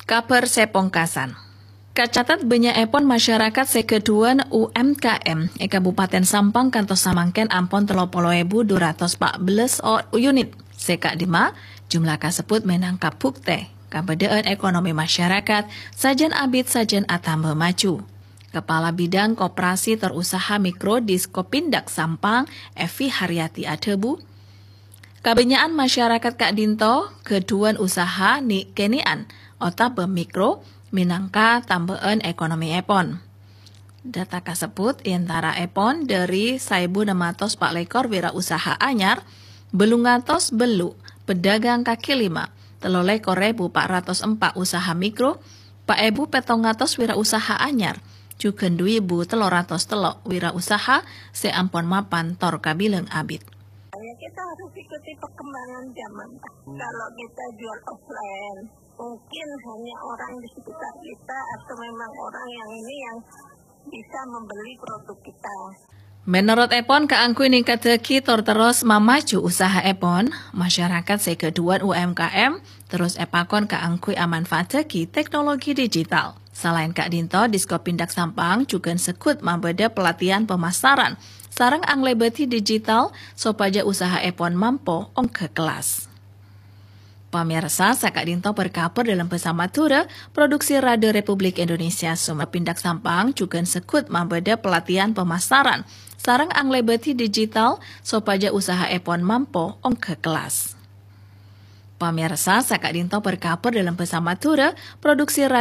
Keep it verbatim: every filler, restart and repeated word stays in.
Kabhâr sè pongkasan. Kacatet bânnya'èpon masyarakat sè ghâdhuwân U M K M è Kabupaten Sampang kantos samangkèn ampon tello polo èbu dhu ratos pa' bellâs o-, unit. Sè ka'dimma, jumlah kasebbhut mènangka buktè kabâdâ'ân ekonomi masyarakat sajân abit sajân atamba maju. Kepala Bidang Koperasi tor Usaha Mikro Diskopindag Sampang, Evi Haryati adhâbu, kabânnya'an masyarakat ka'dinto ghâdhuwân usaha ni'-kènè'an otabâ mikro mènangka tambâ'ân ekonomièpon. Data kasebbhut è antaraèpon dâri saèbu nem atos pa' lèkor wirausaha anyar, bâllung atos bellu' pedagang kaki lima, tello lèkor èbu pa' ratos empa' usaha mikro, pa' èbu pèttong atos wirausaha anyar, jhughân dhu èbu tello ratos tello' wirausaha sè ampon mapan tor kabilang abit. Ya, kita harus ikuti perkembangan zaman. Kalau kita jual offline, mungkin hanya orang di sekitar kita atau memang orang yang ini yang bisa membeli produk kita. Mènorotèpon, kaangghuy nèngkaddhâghi tor terros mamaju usahaèpon, masyarakat sè ghâdhuwân U M K M terros èpakon kaangghuy amanfaaddhâghi teknologi digital. Salaèn ka'dinto, Diskopindag Sampang jhughân segghut mabâdâ pelatihan pemasaran sareng anglèbâdhi digital sopajâ usahaèpon mampo ongghâ kellas. Pamirsa, saka'dinto berkabar dalam bahasa Madura, produksi Radio Republik Indonesia Sumer Pindak Sampang jhughân segghut mabâdâ pelatihan pemasaran sareng anglèbâdhi digital sopajâ usahaèpon mampo ongghâ kellas. Pamirsa, saka'dinto berkabar dalam bahasa Madura, produksi